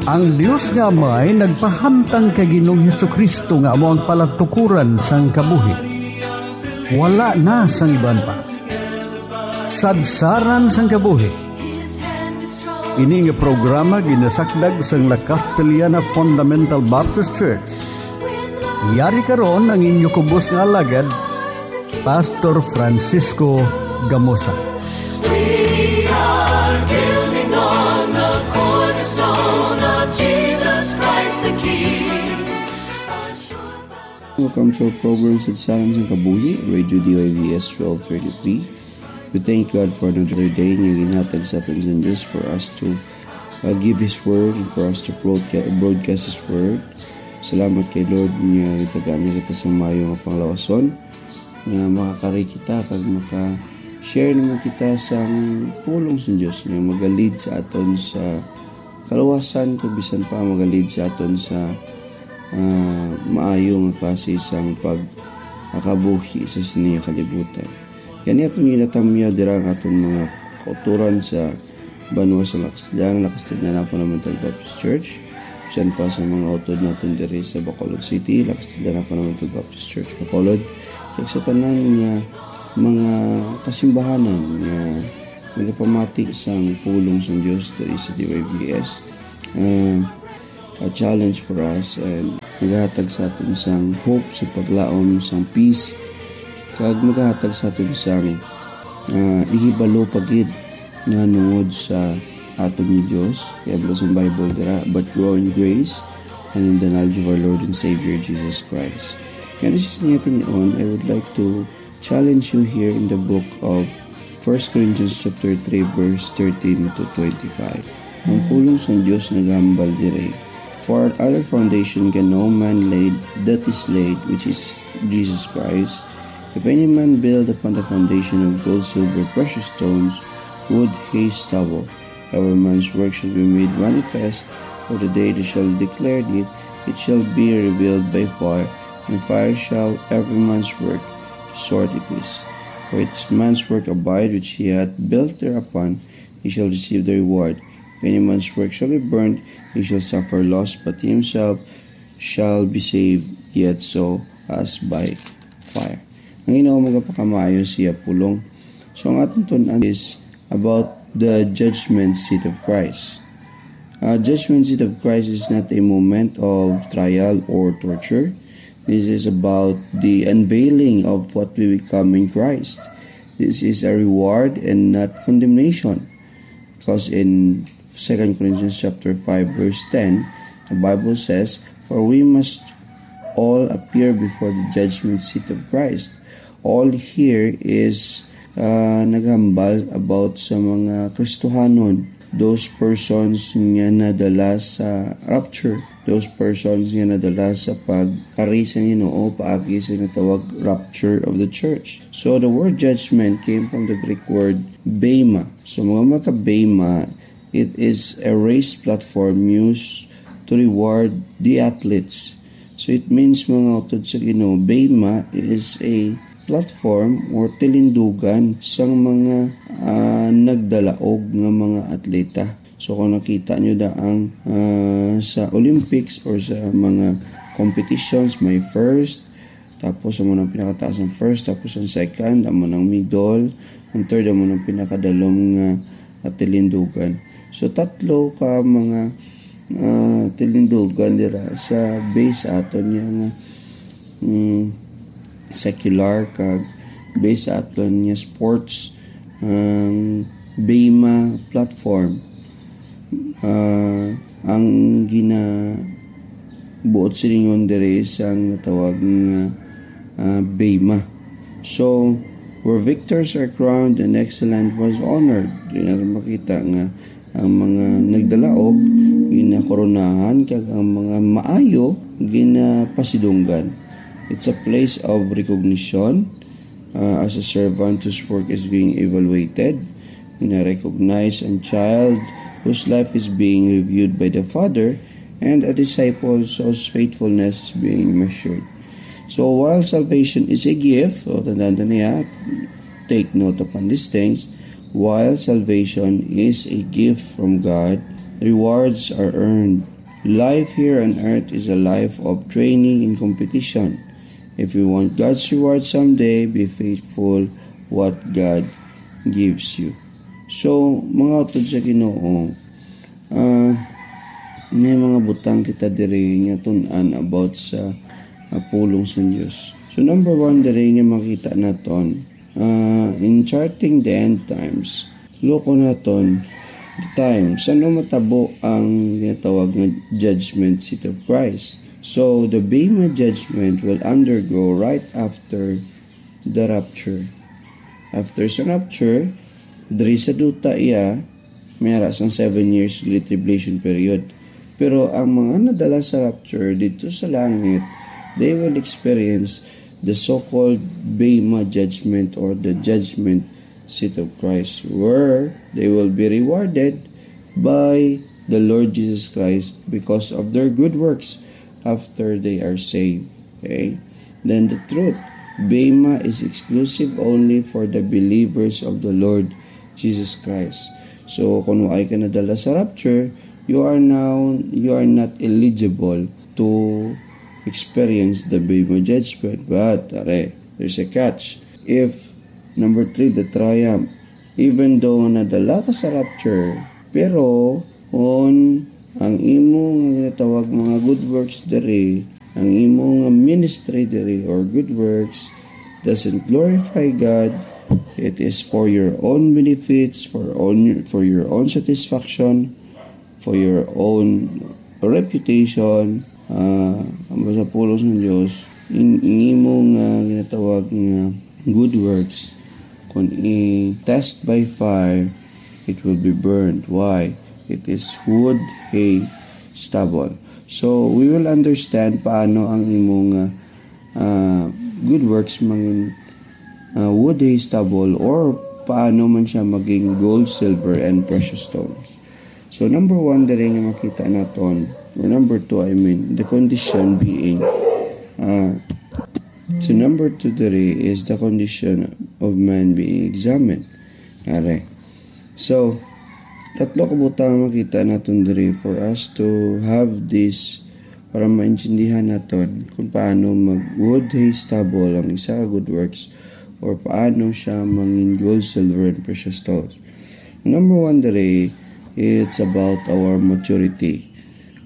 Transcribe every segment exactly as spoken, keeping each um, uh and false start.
Ang Dios nga Amay nagpahamtang kay Ginoong Jesu-Cristo nga amo ang palatukoran sang kabuhi. Wala na sang iban pa. Sadsaran sang kabuhi. Ini nga programa ginasakdag sang La Castellana Fundamental Baptist Church. Yari karon ang inyo kubos nga alagad, Pastor Francisco Gamosa. We are building on the cornerstone of Jesus Christ the King. Welcome to our program, Sadsaran sang Kabuhi, Radio D Y V S twelve thirty-three. We thank God for another day nga ginhatag sa aton sa Diyos for us to, uh, give His Word and for us to broadca-, broadcast His Word. Salamat kay Lord nga gitagaan niya kita sa maayo nga panglawason, nga makakari kita kag maka-share naman kita sang pulong sa Diyos nga magalid sa aton sa kaluwasan, kag bisan pa magalid sa aton sa, ah, maayo nga klase sang pagkabuhi sa sini nga kalibutan. Gani aton ginatamyaw dira ang aton mga kautoran sa banwa sa La Castellana, La Castellana Fundamental Baptist Church, bisan pa sa mga utod naton diri sa Bacolod City, La Castellana Fundamental Baptist Church, Bacolod, kag sa tanan nga mga kasimbahanan nga nagapamati sang pulong sang Dios diri sa D Y V S. Ah, a challenge for us and nagahatag sa aton sang hope sa paglaom sang peace, kag nagahatag sa aton sang, ah, ihibalo pa gid nahanungod sa aton ni Dios. Kay ang sang Bible dira, "But grow in grace and in the knowledge of our Lord and Savior Jesus Christ." Kaya sa sini nga tion, I would like to challenge you here in the book of First Corinthians chapter three, verse thirteen to twenty-five. Ang pulong sang Dios nagahambal diri, "For other foundation can no man lay that is laid, which is Jesus Christ. If any man build upon the foundation of gold, silver, precious stones, wood, hay, stubble, every man's work shall be made manifest, for the day that shall declare it, it shall be revealed by fire, and fire shall every man's work sort it is. For each man's work abide which he hath built thereupon, he shall receive the reward. If any man's work shall be burned, he shall suffer loss, but he himself shall be saved, yet so as by fire." Ang Ginoo magapakamaayo siya pulong. So, ang aton tun-an is about the judgment seat of Christ. Uh, judgment seat of Christ is not a moment of trial or torture. This is about the unveiling of what we become in Christ. This is a reward and not condemnation. Because in Second Corinthians chapter five, verse ten, the Bible says, "For we must all appear before the judgment seat of Christ." All here is, uh, naghambal about sa mga Kristohanon, those persons nga nadala sa rapture, those persons nga nadala sa pag-ari sa Ginoo paagi sa natawag rapture of the church. So the word judgment came from the Greek word bema. So mga mata bema, it is a raised platform used to reward the athletes. So it means, mga utod sa Ginoo, bema is a platform or tilindugan sang mga, ah, nagdalaog nga mga atleta. So kung nakita nyo da ang, ah, sa Olympics or sa mga competitions, may first, tapos amo nang pinakataas ang first, tapos ang second, amo nang middle, ang third, amo nang pinakadalom nga, ah, tilindugan. So tatlo ka mga, ah, tilindugan dira sa base aton niya nga, mm, secular kag base aton niya sports, ang bema platform. Ah, ang ginabuot silingon diri sang natawag nga, ah, bema. So, where victors are crowned and excellent was honored. Di na makita nga ang mga nagdalaog ginakoronahan kag ang mga maayo ginapasidunggan. It's a place of recognition, uh, as a servant whose work is being evaluated, gina-recognize ang child whose life is being reviewed by the father, and a disciple whose faithfulness is being measured. So while salvation is a gift, o tandaan ta niya, take note upon these things, while salvation is a gift from God, rewards are earned Life here on earth is a life of training and competition. If you want God's reward someday, be faithful what God gives you. So, mga utod sa Ginoo, ah, may mga butang kita diri nga tun-an about sa, ah, pulong sa Dios. So, number one diri nga makita naton, ah, in charting the end times, loko naton the time. Sa ano matabo ang ginatawag nga judgment seat of Christ? So, the Bema judgment will undergo right after the rapture. After sa rapture, diri sa duta iya, may ara sang seven years Great Tribulation period. Pero ang mga nadala sa rapture dito sa langit, they will experience the so-called Bema judgment or the judgment seat of Christ, where they will be rewarded by the Lord Jesus Christ because of their good works after they are saved. Okay? Then the truth, Bema is exclusive only for the believers of the Lord Jesus Christ. So, kung wa ka nadala sa rapture, you are now, you are not eligible to experience the Bema judgment. But, are, there's a catch. If, number three, the triumph, even though nadala ka sa rapture, pero kung ang imo nga ginatawag mga good works diri, ang imo nga ministry diri or good works doesn't glorify God, it is for your own benefits, for own, for your own satisfaction, for your own reputation, ah, ang sa pulong sa Dios, in, in imo nga ginatawag nga good works, kung i-test by fire, it will be burned. Why? It is wood, hay, stubble. So, we will understand paano ang imo nga, ah, good works mangin, ah, wood, hay, stubble, or paano man siya maging gold, silver, and precious stones. So, number one, diri nga makita naton, or number two, I mean, the condition being, ah, so number two diri is the condition of man being examined. Are. So, tatlo ka butang makita naton diri for us to have this, para maintindihan naton kung paano mag wood, hay, stubble ang isa ka good works or paano siya mangin gold, silver, and precious stones. Number one diri, it's about our maturity.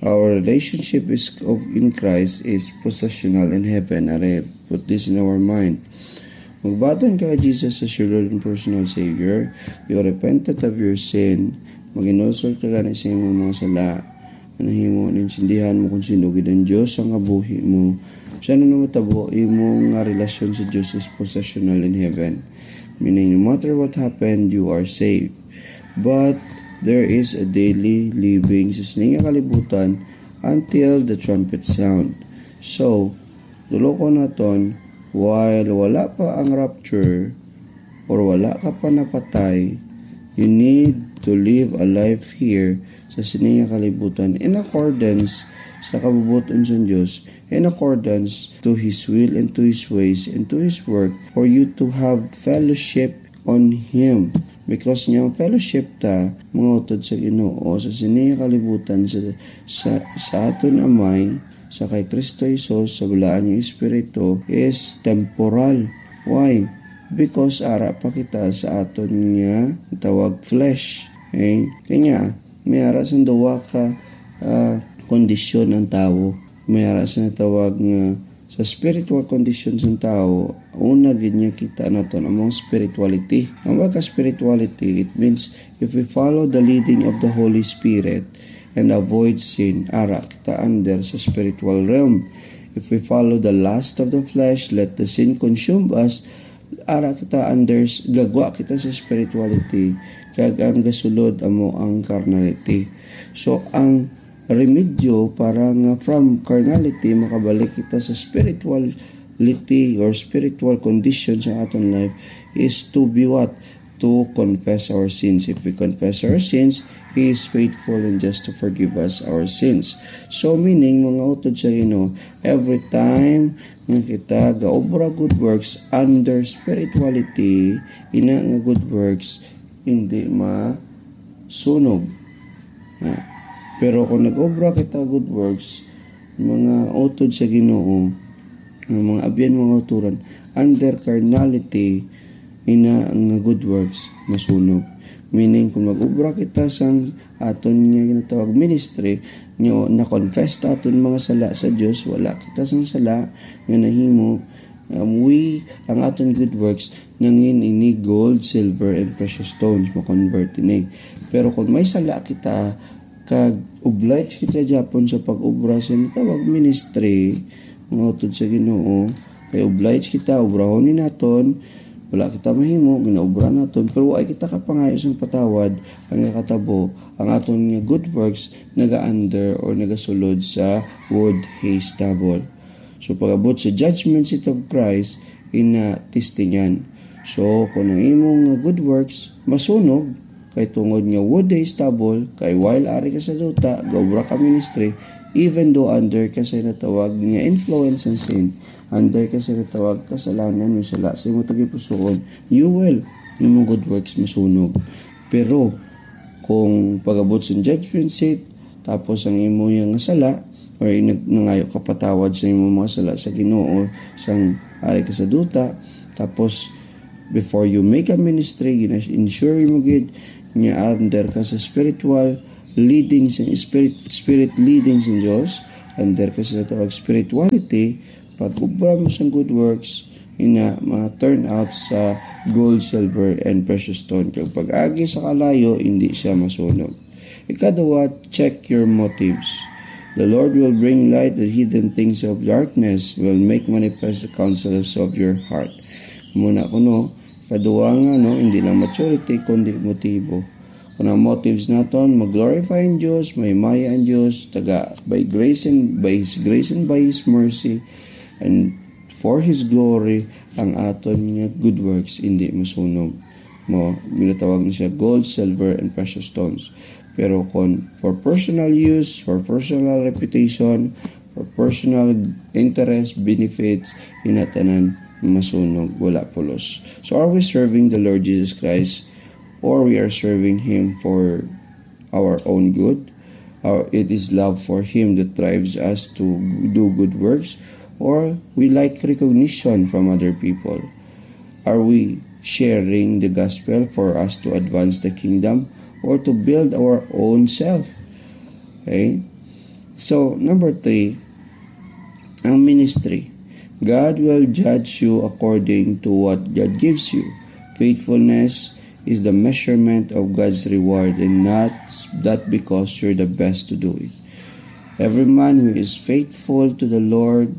Our relationship is of, in Christ is positional in heaven. Are, put this in our mind. Magbaton ka kay Jesus as your Lord and personal Savior. You repented of your sin. Maginulsol ka gani sa imong mga sala. Ang nahimo, naintindihan mo kung sino gid ang Dios sa nga buhi mo. Sa ano matabo, imo nga relasyon sa Dios is positional in heaven. Meaning, no matter what happened, you are saved. But there is a daily living sa sini nga kalibutan until the trumpet sound. So, tulokon naton, while wala pa ang rapture or wala ka pa napatay, you need to live a life here sa sini nga kalibutan in accordance sa kabubot-on sa Dios, in accordance to His will and to His ways and to His work, for you to have fellowship on Him. Because nga ang fellowship ta, mga utod sa Ginoo, sa sini nga kalibutan, sa, sa, sa aton Amay, sa kay Kristo Jesus, sa balaan nga Espiritu, is temporal. Why? Because ara pa kita sa aton nga tawag flesh. Okay? Kanya, may ara sang duwa ka, ah, kondisyon ang tawo. May ara sa natawag nga sa spiritual condition sang tawo, una gid niya kita naton among spirituality. Ang word ka spirituality, it means if we follow the leading of the Holy Spirit and avoid sin, ara kita under sa spiritual realm. If we follow the lust of the flesh, let the sin consume us, ara kita under, gagwa kita sa spirituality, kag ang gasulod amo ang carnality. So, ang remedyo para nga from carnality makabalik kita sa spirituality or spiritual condition sa aton life is to be what? To confess our sins. If we confess our sins, He is faithful and just to forgive us our sins. So, meaning, mga utod sa Ginoo, every time nga kita gaobra good works under spirituality, ina nga good works, hindi masunog. Na. Pero kung nag-obra kita good works, mga utod sa Ginoo, ang mga abyan, mga uturan, under carnality, ina nga good works masunog. Meaning, kung mag-obra kita sang aton nga ginatawag ministry, nga na-confess ta aton mga sala sa Dios, wala kita sang sala nga nahimo, um, we, ang aton good works, nangin ini gold, silver, and precious stones, ma-convert ini. Pero kung may sala kita, kag obliged kita gyapon sa pag-obra sa natawag ministry, mga utod sa Ginoo, kay obliged kita, obrahon ni naton, wala kita mahimo, ginaobra naton, pero wa kita kapangayo sang patawad, ang nakatabo, ang aton nga good works naga-under or nagasulod sa wood hay stubble. So, pag-abot sa judgment seat of Christ, ina testingan. So, kung ang imong nga good works masunog, kay tungod nga wood hay stubble, kay while ari ka sa duta, gaobra ka ministry, even though under ka sa natawag nga influence ng sin, under ka sa natawag kasalanan, may sala sa imong tagipusoon, you will, imong good works masunog. Pero, kung pag-abot sa judgment seat, tapos ang imo nga sala, or nag-, nangayo ka patawad sa imong mga sala sa Ginoo, sang ari ka sa duta, tapos before you make a ministry, gina-ensure mo gid nga under ka sa spiritual leading sa spirit, spirit leading sa Dios, under ka sa tawag spirituality, pag-obra mo sang good works, ina mga turnout sa gold, silver, and precious stone. Kag pag-agi sa kalayo, hindi siya masunog. Ikaduha, check your motives. The Lord will bring light the hidden things of darkness, will make manifest the counsels of your heart. Muna kuno, ikaduha nga, no, hindi lang maturity, kundi motibo. Kung ang motives naton mag-glorify ang Dios, mahimaya ang Dios, taga by grace and by His grace and by His mercy, and for His glory, ang aton nga good works hindi masunog. Mo, ginatawag na siya gold, silver, and precious stones. Pero kung for personal use, for personal reputation, for personal interest, benefits, inatanan masunog, wala pulos. So are we serving the Lord Jesus Christ, or we are serving Him for our own good? Or it is love for Him that drives us to do good works, or we like recognition from other people? Are we sharing the gospel for us to advance the kingdom or to build our own self? Okay? So, number three, ang ministry. God will judge you according to what God gives you. Faithfulness is the measurement of God's reward, and not that because you're the best to do it. Every man who is faithful to the Lord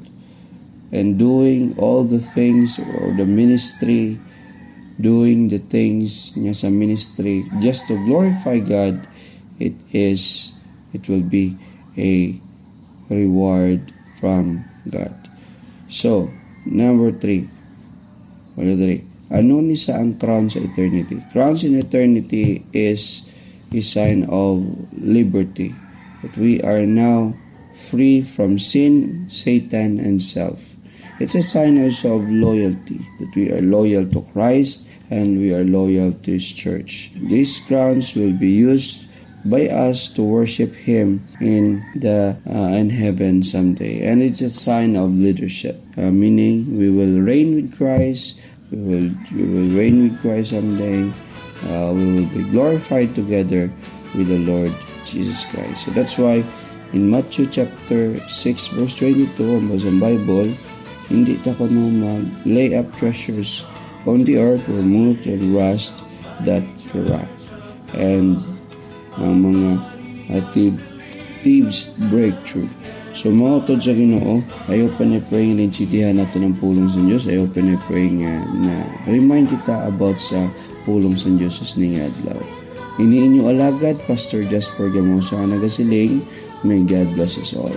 and doing all the things or the ministry, doing the things niya sa ministry just to glorify God, it is, it will be a reward from God. So, number three. Wala diri. Ano ni sa ang crown sa eternity? Crowns in eternity is a sign of liberty, that we are now free from sin, Satan, and self. It's a sign also of loyalty, that we are loyal to Christ and we are loyal to His church. These crowns will be used by us to worship Him in the, uh, in heaven someday. And it's a sign of leadership, uh, meaning we will reign with Christ, we will, we will reign with Christ someday. Uh, we will be glorified together with the Lord Jesus Christ. So that's why in Matthew chapter six, verse twenty-two, ang basang Bible, hindi ta kuno mag-lay up treasures on the earth where moth and rust that corrupt, and ang mga, uh, thief-, thieves break through. So, mga utod sa Ginoo, I hope and I pray nga naintindihan naton ang pulong sa Dios. I hope and I pray nga na-remind kita about sa pulong sa Dios sa sining adlaw. Ini inyo alagad, Pastor Jasper Gamosa, ang nagasiling, may God bless us all.